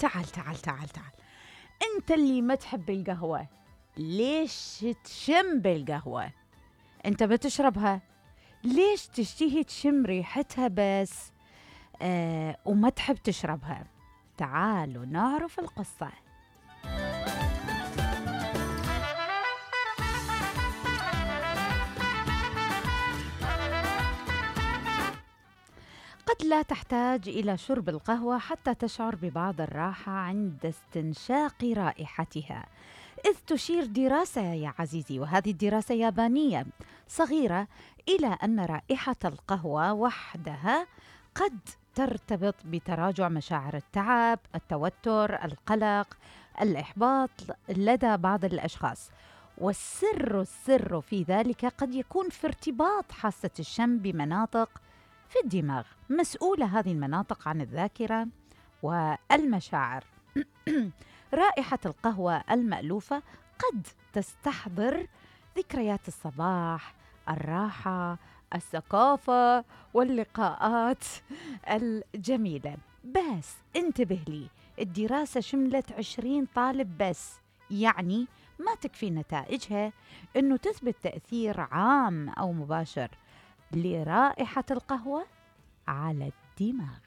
تعال تعال تعال تعال. انت اللي ما تحب القهوة، ليش تشم بالقهوة؟ انت بتشربها، ليش تشتهي تشم ريحتها بس وما تحب تشربها؟ تعالوا نعرف القصة. قد لا تحتاج إلى شرب القهوة حتى تشعر ببعض الراحة عند استنشاق رائحتها، إذ تشير دراسة يا عزيزي، وهذه الدراسة يابانية صغيرة، إلى أن رائحة القهوة وحدها قد ترتبط بتراجع مشاعر التعب، التوتر، القلق، الإحباط لدى بعض الأشخاص. والسر في ذلك قد يكون في ارتباط حاسة الشم بمناطق في الدماغ، مسؤولة هذه المناطق عن الذاكرة والمشاعر. رائحة القهوة المألوفة قد تستحضر ذكريات الصباح، الراحة، الثقافة واللقاءات الجميلة. بس انتبه لي، الدراسة شملت 20 طالب بس، يعني ما تكفي نتائجها أنه تثبت تأثير عام أو مباشر لرائحة القهوة على الدماغ.